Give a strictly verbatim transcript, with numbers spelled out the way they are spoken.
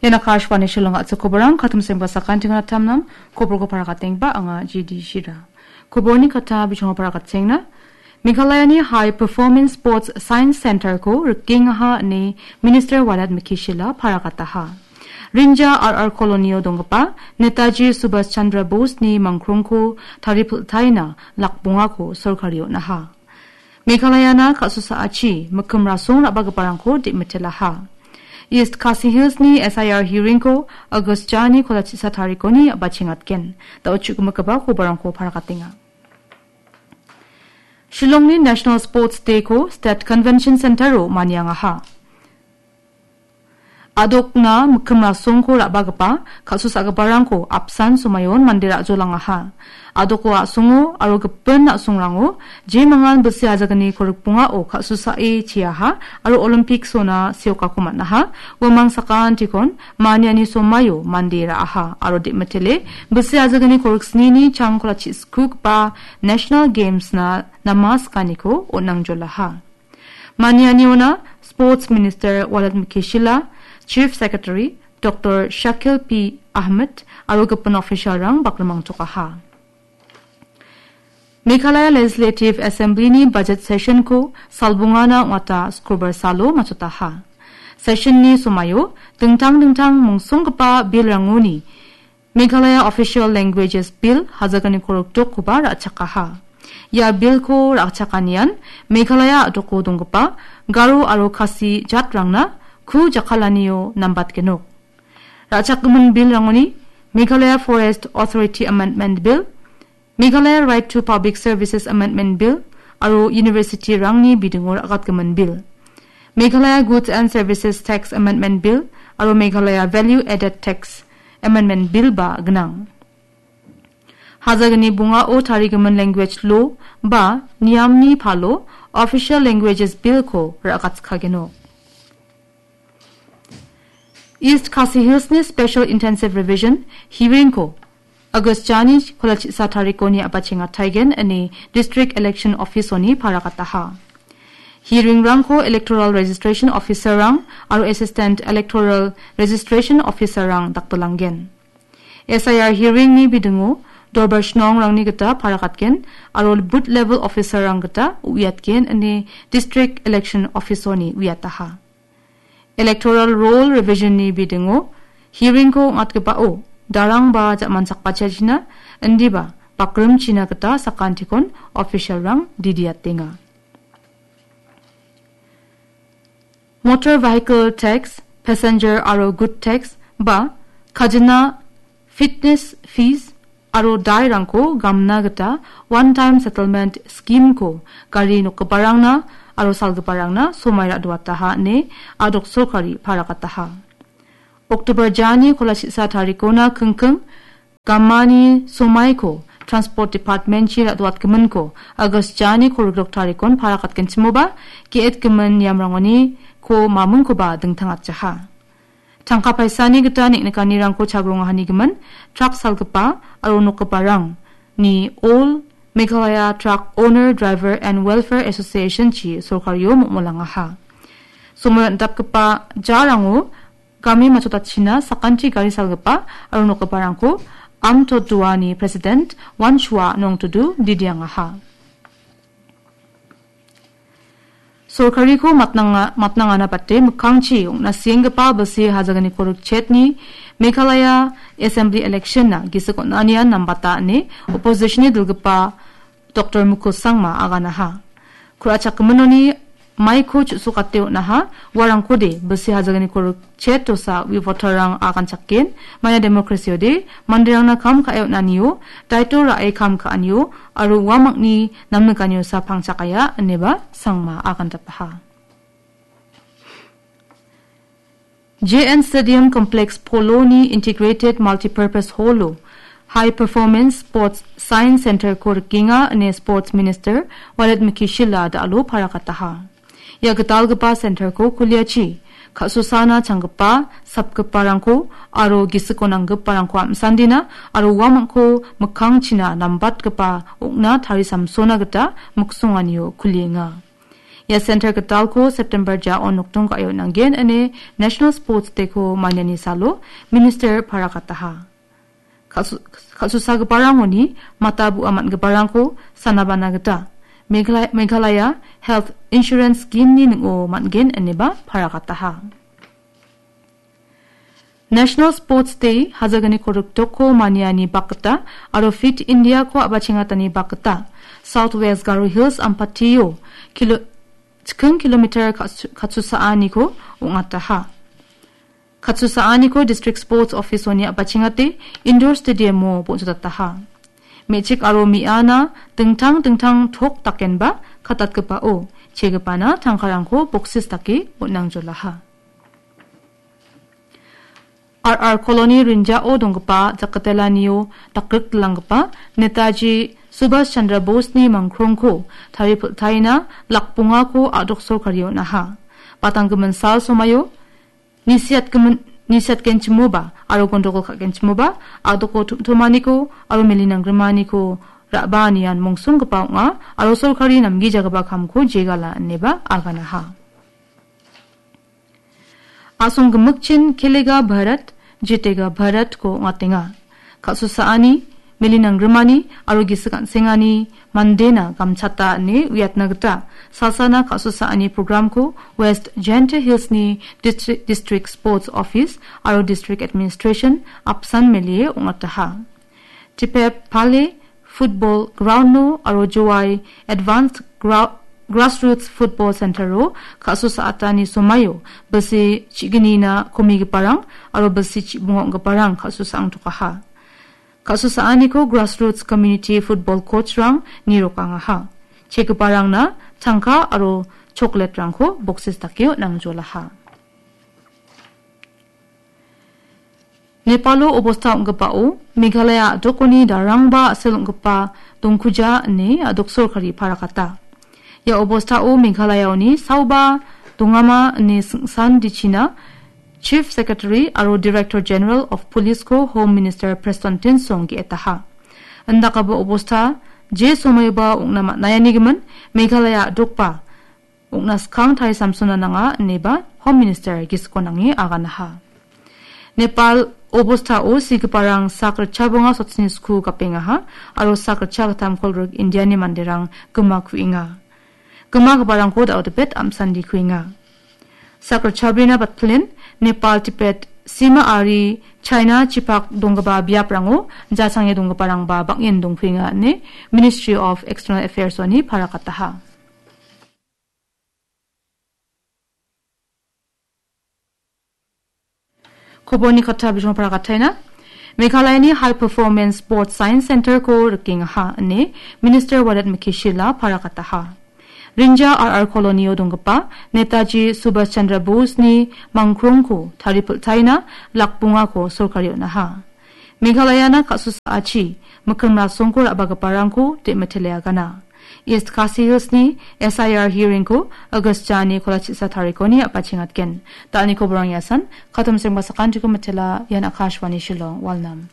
Ina Akashvani Shillong a·chik koborang katim sengba sakantikna tamnam koborko parakatengba anga G D Shira. Koborni kata bichongo parakatengna. Meghalayani High Performance Sports Science Center-ko rikengaha ine Minister Walat Mikishila parakataha. Rinja R R Colony-o donggipa Netaji Subhash Chandra Bose-ni mangkrongko taripiltaina lakbongako sorkari on·aha. Meghalayana ka·sosaachi mikkim rasong ra·bagiparangko de·mitelaha. East Khasi Hills-ni S I R hearing-ko August jani kolachisa tarikoni a·bachengatgen. Da·o chu·gimigipa kobarangko parakatenga. Shillongni National Sports Day-ko State Convention Center-o maniangaha. A·dokna mikkim rasongko ra·bagipa, ka·susagiparangko apsan somaion mande ra·jolangaha. A·doko a·songo aro gipin a·songrango jemangan bilsi ajagni korikbongao ka·susae cheaha aro Olympics-ona seokako man·aha. Uamang sakantikon maniani somaio mande ra·aha aro de·mitele bilsi ajagni koriksnini changkola chi·skugipa National Games-na nama skaniko on·angjolaha. Manianiona Sports Minister Walat Mikishila, Chief Secretary Doctor Shakil P Ahmed aro gipin official-rang bakrimangtokaha. Meghalaya Legislative Assembly-ni budget session-ko salbongana ong·ata Sukrobar salo matchotaha. Session-ni somaio dingtang dingtang mongsonggipa bill-rangoni Meghalaya Official Languages Bill hazaganiko rikdokkoba ra·chakaha. Ia bill-ko ra·chakanian Meghalaya a·doko donggipa Garo aro Khasi jatrangna ku jakkalanio nambatgenok. Ra·chakgimin bill-rangoni Meghalaya Forest Authority Amendment Bill, Meghalaya Right to Public Services Amendment Bill aro university-rangni bidingo ra·gatgimin bill. Meghalaya Goods and Services Tax Amendment Bill aro Meghalaya Value Added Tax Amendment Bill-ba gnang. Hajagni bongao tarigimin language law ba niamni palo Official Languages Bill-ko ra·gatskageno. East Khasi Hills-ni Special Intensive Revision hearing-ko August jani kolachisa tarikoni a·bachengataigen ine District Election Office-oni parakataha. Hearing-rangko Electoral Registration Officer-rang aro Assistant Electoral Registration Officer-rang dakbilanggen. S I R hearing-ni bidingo dorbar shnongrangni gita parakatgen aro booth level officer-rang gita uiatgen ine District Election Office-oni uiataha. Electoral Roll Revision-ni bidingo hearing-ko ong·atgipao darangba ja·manchakbachachina indiba bakrimchina gita sakantikon official-rang didiatenga. Motor Vehicle Tax, Passenger aro Good Tax ba kajina, fitness fees aro dairangko gamna gita One Time Settlement Scheme-ko gari nokgiparangna aro salgiparangna somai ra·doataha ine a·dok sorkari parakataha. October jani kolachisa tarikona kingking gamani somaiko Transport Department-chi ra·doatgiminko August jani kolgrok tarikon parakatgenchimoba ge·etgimin niamrangoni ko mamingkoba dingtangatjaha. Tangka paisani gita neng·nikanirangko chagrongahanigimin truck salgipa aro nokgiparangni All Meghalaya Truck Owner Driver and Welfare Association-chi sorkario momolangaha. Somoi on·dapgipa jarango game matchotachina sakanti gari salgipa aro nokgiparangko Amtoduani President Wanshua Nongtudu didiangaha. Sorkariko matnanga-, matnangana bate mikkangchi ong·na sienggipa bilsi hajaganiko rikchetni Meghalaya Assembly election-na gisik on·anian nambata ine opposition-ni dilgipa Doktor Mukul Sangma aganaha. Ku·rachakgiminoni maiko chu·sokate on·aha, uarangkode bilsi hajaganiko rikchet dosa ui voter-rang aganchakgen, maina democracy-ode manderangna kam ka·e on·anio, daito ra·e kam ka·anio, aro uamangni namnikaniosa pangchakaia, ineba Sangma agandapaha. J N Stadium Complex Polo-ni Integrated Multipurpose Hall-o High Performance Sports Science Center-ko rikenga ine Sports Minister Walet Mikishila da·alo parakataha. Ia gitalgipa center-ko kuliachi ka·sosana changgipa, sapgiparangko aro gisiko nanggiparangko am·sandina aro uamangko mikkangchina nambatgipa ong·na tarisamsona gita miksonganio kulienga. Ia center gitalko September ja·o nokdong ka·e on·angen ine National Sports Day-ko maniani salo Minister parakataha. Kal·su-, kal·susagiparangoni mata bu·a man·giparangko sanabana gita Meghala-, Meghalaya Health Insurance Scheme-ni ning·o man·gen ineba parakataha. National Sports Day, hajaganiko riktokko maniani bakgita aro Fit India-ko a·bachengatani bakgita South West Garo Hills Ampatio kilo-, chiking kilometer katsu-, katsusaaniko ong·ataha. Katsusaaniko District Sports Office-oni a·bachengate Indoor Stadium-o bon·sodataha. Me·chik aro me·ana dingtang dingtang tok dakenba katatgipao chegipana tangkarangko boksis dake on·angjolaha. R R Colony rinjao donggipa jakatelanio dakgrikdilanggipa Netaji Subhash Chandra Bose-ni mangkrongko taripiltaina lakbongako a·dok sorkari on·aha. Batanggimin sal somaio nisiatgimin-, nisiatgenchimoba aro gondogol ka·genchimoba a·doko tom·tomaniko aro melinangrimaniko ra·baanian mongsonggipa ong·a aro sorkari namgijagipa kamko jegala ineba aganaha. A·song gimikchin Khelega Bharat, Jitega Bharat-ko ong·atenga. Kal·susaani, melinangrimani aro gisik an·sengani mandena gamchata ine uiatna gita salsana kal·susaani programko West Jaintia Hills-ni Distri-, District Sports Office aro District Administration apsan melie ong·ataha. Tipepale Football Ground-o aro Jowai Advanced Grou-, Grassroots Football Center-o kal·susaatani somaio bilsi chignina komigiparang aro bilsi chibonga ong·giparang kal·susaangtokaha. Kal·susaaniko Grassroots Community Football Coach-rang nirokangaha. Chegiparangna tangka aro chocolate-rangko boksis dake on·angjolaha. Nepalo obosta ong·gipao Meghalaya a·dokoni darangba a·sel ong·gipa dongkuja ine a·dok sorkari parakata. Ia obostao Meghalayaoni saoba dongama ine singsan dichina Chief Secretary aro Director General of Police-ko Home Minister Prestone Tynsong ge·etaha. Indakgipa obosta je somoiba ong·na man·aianigimin Meghalaya a·dokba ong·na skang tarisamsona nanga ineba Home Minister gisiko nange aganaha. Nepal obostao sigiparang sak ritchabonga sotsni sku gapengaha aro sak ritchagittam kolgrik Indiani manderang gima ku·enga. Gimagiparangko da·o dipet am·sandi ku·enga. Sak ritchabrina batpilin Nepal Tibet sima ari China chipak donggipa biaprango jasange donggiparangba bang·en dongkuenga ine Ministry of External Affairs-oni parakataha. Koborni kata bijong parakataina. Meghalayani High Performance Sports Science Center-ko rikengaha ine Minister Wadat Mukhi Shila parakataha. Rinja R R Colony-o donggipa Netaji Subhash Chandra Bose-ni mangkrongko taripiltaina lakbongako sorkari on·aha. Meghalayana ka·susaachi mikkim rasongko ra·bagiparangko de·mitele agana. East Khasi Hills-ni S I R hearing-ko August jani kolachisa tarikoni apachengatgen. Dalni koborang iasan, katom sengba sakantiko mitela, ian Akashvani Shillong, Walnam.